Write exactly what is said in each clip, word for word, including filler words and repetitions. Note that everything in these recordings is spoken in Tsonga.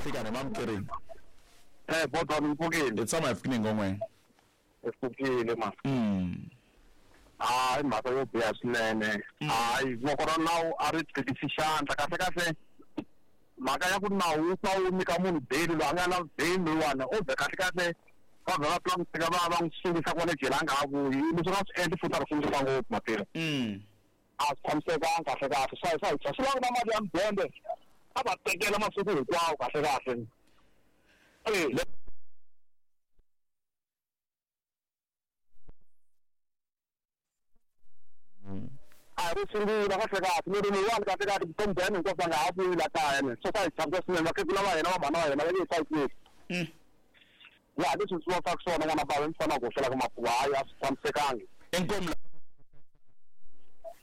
Nhlikani mamukerini. Eh bodwa ni hi tshama hi pfukile ngomwe. Hi pfukile ma. Mm. Hayi mhaka yo biha swinene. Hayi voko ra nawu a ri tikisi xandla kahle kahle. Mhaka ya ku nawu wu pfa wu nyika munhu beli loyi a nga na beli loyiwani o be kahle kahle va vhela va pfula n'wi teka va va n'wi sungisa kwale jele a nga ha vuyi leswi nga swi endli futhi a ri sungisa ngopfu matirha. Mm. A swi tshamisekanga kahle kahle swa swa swi lava ku na mali ya mudende a va tekela masiku hinkwawo kahle kahle. Eh a ri sungula kahle kahle ni ri loyiwani kahle kahle vutomi bya yena hinkwabyo a nga ha vuyi la kaya ni swo swa hi tshamisa swinene vakhegula va hina va mhana wa hina va nge hi hlayiseki. Mm. Ya leswi swi vonisaka swona n'wana bava mi fanele ku hoxela ka mapuwa hayi a swi tshamisekangi. Inkomu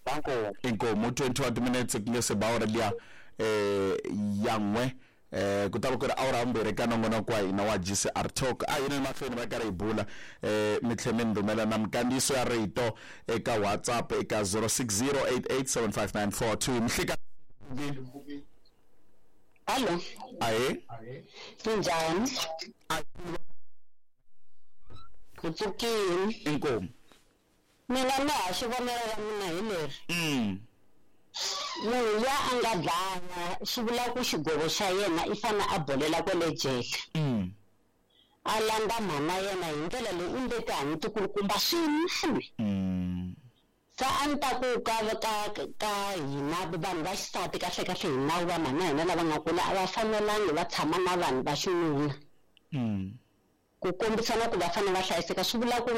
Danko. Inkomu twenty-one minutes ku nge se ba awara liya eh ya n'we eh ku ta va ku ri awara mbirhi ka nongonoko wa hina wa G C R Talk a yini mahlweni va karhi hi bula eh mi tlhe mi ni rhumela na minkandziyiso ya rito eka WhatsApp eka zero six zero eight eight seven five nine four two mhlika. Hallo. Ahe. Ninjani? Hi pfukile. Inkomu. Mina na ha xivonelo ra mina hi leri. Mm. Munhu ya a nga dlaya swi vula ku xigovo xa yena i fane a bolela kwale jele. Mm. A landza mhana yena hi ndlela leyi u nge tihanyi tikulukumba swinene. Mm. Se a ni ta ku ka ka ka hina vanhu va xisati kahle kahle hi nawu va mhana hina lava nga kula a va fanelangi va tshama na vanhu va xinuna. Mm. Ku kombisana ku va fanele va hlayiseka swi vula ku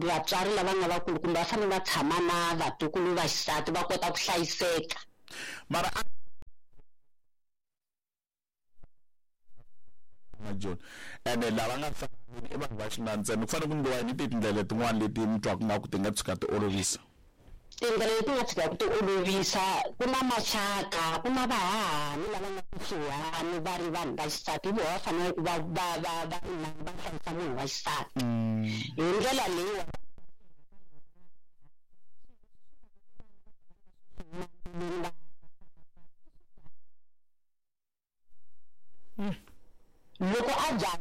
vatswari lava nga vakulukumba va fanele va tshama na vatukulu va xisati va kota ku hlayiseka. Mara John ene lava nga i vanhu va xinuna ntsena ku fanele ku endliwa yini tindlela tin'wana leti mi twaka nga ku ti nga tshuka ti olovisa? Tindlela leti nga tshikaka ti olovisa ku na maxaka ku na vahahani lava nga kusuhani va ri vanhu va xisati hi vona va fanele ku va va va va va hlayisa munhu wa xisati hi ndlela leyi. Loko a dya